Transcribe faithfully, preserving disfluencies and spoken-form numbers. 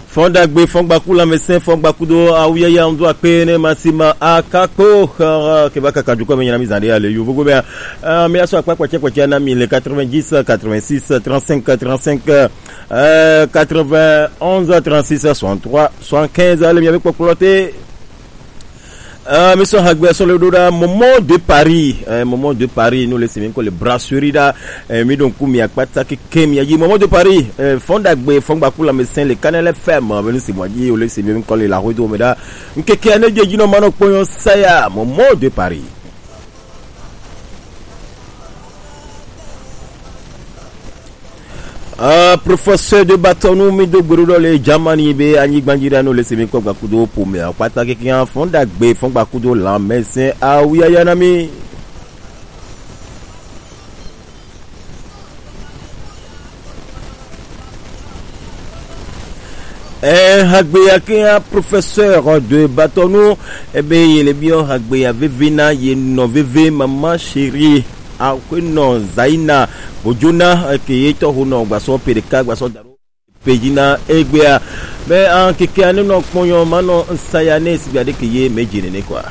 Fɔndagbe, fɔngbaku lamɛsɛn, fɔngbakudo awuyaya ŋdu akpe ne masima akakpo, eh, keba kaka dukɔ me nyina mi zande ale yo vogo mea. Eh, mi aso akpa kpɛtsɛ kpɛtsɛ na mi le quatre-vingt-dix, quatre-vingt-six, trente-cinq, trente-cinq, euh, quatre-vingt-onze, trente-six, soixante-trois, soixante-quinze, ale mi abe kpɔkplɔ te. Ah, mi sɔ hagbe sɔ le ɖo ɖa Momo de Paris, eh, Momo de Paris, nous le semi ko le brasserie ɖa, eh, mi ɖo ŋku mi akpata keke mi ayi Momo de Paris, eh, fɔndagbe, fɔngbaku lamɛsɛn le Canal F M, be nu si mo ayi, o le semi mi ko le la hodo me ɖa, ŋkeke ne je dzi nɔ ma nɔ kpɔnyɔ saya, Momo de Paris. Ah, professeur de bâton, nous, mi do gburu ɖo le Germany be anyigba dzi ɖa no le semi kɔ gbakudo pome akpata keke fɔndagbe, fɔngbakudo lamɛsɛn awuyaya na mi. Eh, hagbeya kea professeur de bâton, ebe ye le biɔ hagbeya veve na ye nɔ veve, maman chérie, akweno Zaina Bojona, eh, ke ye tɔ ho nɔ gbasɔ pe ɖeka gbasɔ daro pe dzi na egbea. Be an keke ane nɔ kpɔnyɔ ma nɔ nsaya ne sigba ɖe ke ye me dzi nene kwa.